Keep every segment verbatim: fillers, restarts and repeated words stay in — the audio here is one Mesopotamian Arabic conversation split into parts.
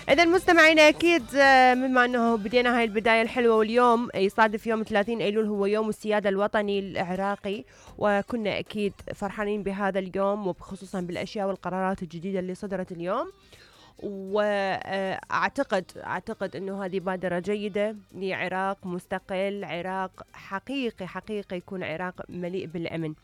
إذا مستمعينا أكيد بما أنه بدينا هاي البداية الحلوة، واليوم يصادف يوم ثلاثين أيلول هو يوم السيادة الوطني العراقي، وكنا أكيد فرحانين بهذا اليوم وخصوصا بالأشياء والقرارات الجديدة اللي صدرت اليوم. وأعتقد أعتقد أنه هذه بادرة جيدة لعراق مستقل، عراق حقيقي حقيقي يكون عراق مليء بالأمن.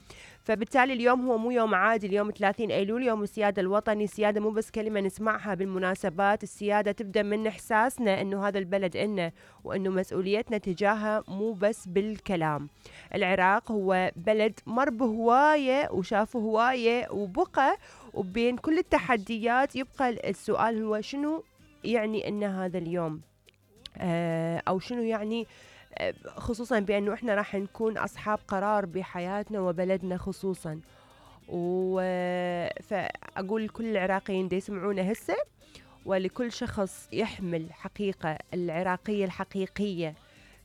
فبالتالي اليوم هو مو يوم عادي، اليوم ثلاثين أيلول يوم السيادة الوطني. السيادة مو بس كلمة نسمعها بالمناسبات، السيادة تبدأ من إحساسنا أنه هذا البلد إلنا، وأنه مسؤوليتنا تجاهها مو بس بالكلام. العراق هو بلد مر بهواية وشافه هواية وبقى، وبين كل التحديات يبقى السؤال هو شنو يعني إن هذا اليوم، آه أو شنو يعني، خصوصا بأنه إحنا راح نكون أصحاب قرار بحياتنا وبلدنا خصوصا. فأقول لكل العراقيين دي يسمعونا هسه، ولكل شخص يحمل حقيقة العراقية الحقيقية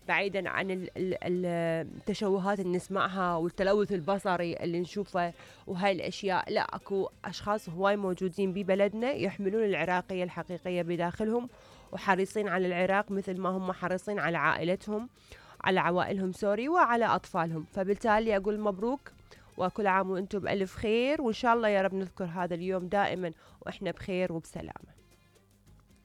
بعيدا عن التشوهات اللي نسمعها والتلوث البصري اللي نشوفه وهاي الأشياء، لا، أكو أشخاص هواي موجودين ببلدنا يحملون العراقية الحقيقية بداخلهم وحريصين على العراق مثل ما هم حريصين على عائلتهم، على عوائلهم سوري، وعلى أطفالهم. فبالتالي أقول مبروك وكل عام وأنتم بألف خير، وإن شاء الله يا رب نذكر هذا اليوم دائما وإحنا بخير وبسلامة.